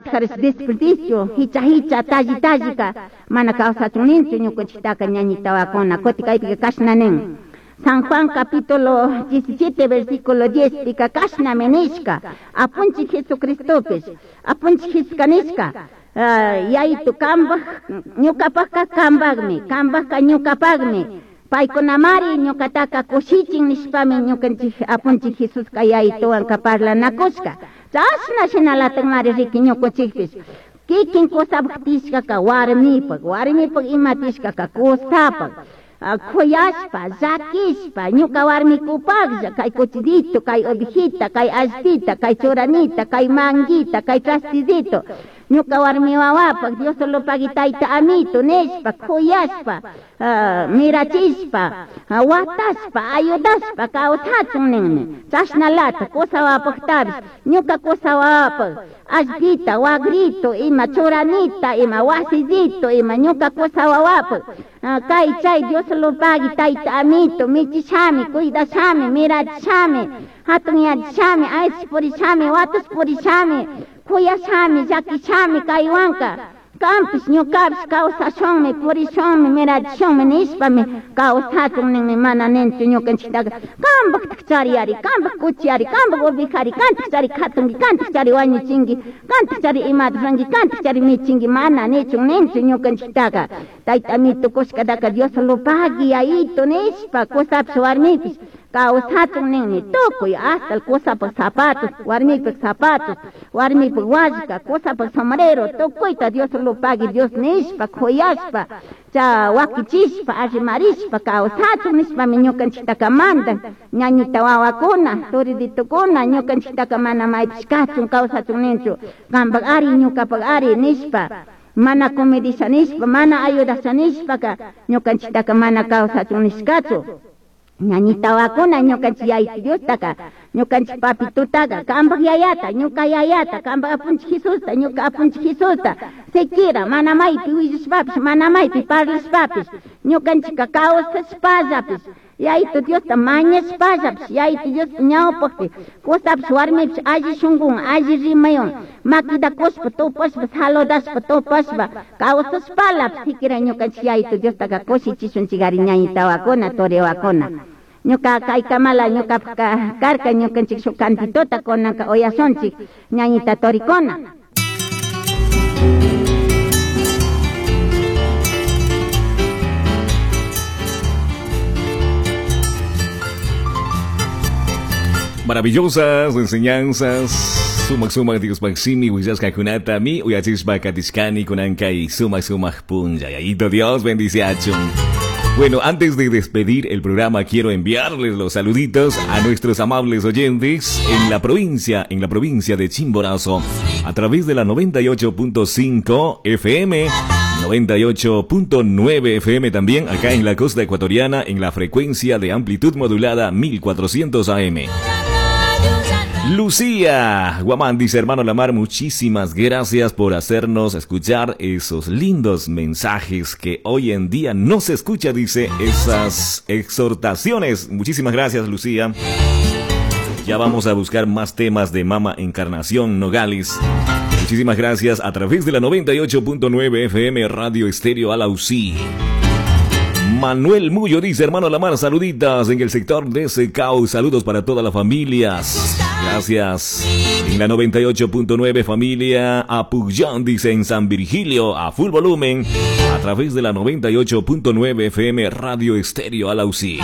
Ñukatajarish desperdicio hicha hicha talli tallika mana kawsachun ninchu ñukanchiktaka ñañita wawakuna kutin kaypika kashna nin. San Juan capítulo 17 versículo 10 pika kashnami nishka apunchik Jesucristopish apunchik Jesuska nishka yayitu kambaj ñukapajka kambajmi kambajka ñukapajmi paykunamari ñukataka kushichin nishpami ñukanchik apunchik Jesuska yayituwanka parlanakushka chashna shinalatakmari riki ñukunchikpish kikin kusapaj tishkaka warmipak warmipak ima tishkaka kusapak kuyashpa llakishpa ñuka warmikupaklla kay cuchillito kay ovejita kay allpita kay churanita kay manguita kay trastidito ñuka warmi wawapak Dios solo pagui tayta amito nishpa kuyashpa mirachishpa watashpa ayudashpa kawsachun ninmi chashnalata kusa wawapaktapish ñuka kusa wawapak allpita wagrito ima churanita ima wasillito ima ñuka kusa wawapak kay chay Dios solo pagui tayta amito michishami cuidashami mirachishami hatunyachishami aychash purishami watash purishami kuyashami llakishami kaywanka kampish ñukapish kawsashunmi purishunmi mirachishunmi nishpami kawsachun ninmi mana ninchu ñukanchiktaka kampaktak chariyari kampak kuchiyari kampak ovejari kantak chari katunki kantak chari wañuchinki kantak chari imata ruranki kantak chari michinki mana nichun ninchu ñukanchiktaka tayta amito kushkataka Dios lo pagui yayito nishpa kusapish warmipish kawsachun ninmi tukuy hasta el kusapak zapatos warmipak zapatos warmipak wallka kusapak sombrero tukuyta Dios lo pagui Dios nishpa kuyashpa cha wakichishpa arrimarishpa kawsachun nishpami ñukanchiktaka mandan ñañita wawakuna turiditukuna ñukanchiktaka mana maypish kachun kawsachun ninchu kampak ari ñukapak ari nishpa mana comidisha nishpa mana ayudasha nishpaka ñukanchiktaka mana kawsachun nishkachu ñañita wawakuna ñukanchik yayitu Diostaka ñukanchik papitutaka kampak yayata ñuka yayata kampak apunchik Jesusta ñuka apunchik Jesusta siquiera mana maypi willashpapish mana maypi parlashpapish ñukanchikka kawsashpallapish yayitu Diosta mañashpallapish yayitu Dios ñawpakpi kusapish warmipish alli shunkuwan alli rimaywan makita kushpa tupashpa saludashpa tupashpa kawsashpalapish siquiera ñukanchik yayitu Diostaka kushichishunchikari ñañita wawakuna turi wawakuna ñuka kaykamala ñukapak karka ñukanchik shuk cantitota kunanka uyashunchik ñañita torikuna. Maravillosas enseñanzas. Sumak sumak Dios Maximi, Huillaska mi, Uyachispa Katishkani, Kunankay, sumak sumak punlla. Yayito Dios bendice achun. Bueno, antes de despedir el programa, quiero enviarles los saluditos a nuestros amables oyentes en la provincia de Chimborazo, a través de la 98.5 FM, 98.9 FM también, acá en la costa ecuatoriana, en la frecuencia de amplitud modulada 1400 AM. Lucía Guamán dice, hermano Lamar, muchísimas gracias por hacernos escuchar esos lindos mensajes que hoy en día no se escucha, dice, esas exhortaciones. Muchísimas gracias, Lucía. Ya vamos a buscar más temas de Mama Encarnación Nogales. Muchísimas gracias a través de la 98.9 FM Radio Estéreo Alausí. Manuel Mullo dice, hermano Lamar, saluditas en el sector de Secau, saludos para todas las familias. Gracias. En la 98.9 familia Apuyán, dice, en San Virgilio, a full volumen, a través de la 98.9 FM Radio Estéreo Alausí.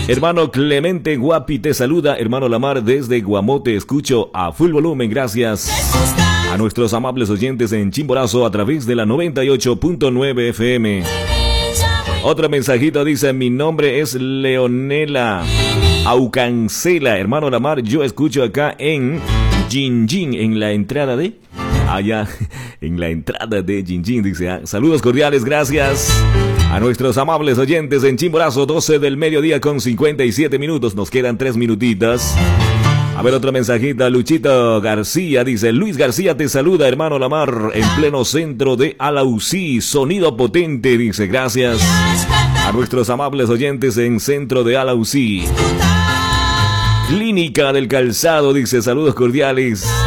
Hermano Clemente Guapi te saluda, hermano Lamar, desde Guamote, escucho a full volumen, gracias a nuestros amables oyentes en Chimborazo a través de la 98.9 FM. Otro mensajito dice, mi nombre es Leonela Aucancela, hermano Lamar, yo escucho acá en Jinjin, en la entrada de... Allá, en la entrada de Jinjin, dice, saludos cordiales, gracias a nuestros amables oyentes en Chimborazo, 12 del mediodía con 57 minutos, nos quedan 3 minutitas. A ver, otro mensajito, Luchito García dice, Luis García te saluda, hermano Lamar, en pleno centro de Alausí, sonido potente, dice, gracias a nuestros amables oyentes en centro de Alausí. Clínica del Calzado, dice, saludos cordiales.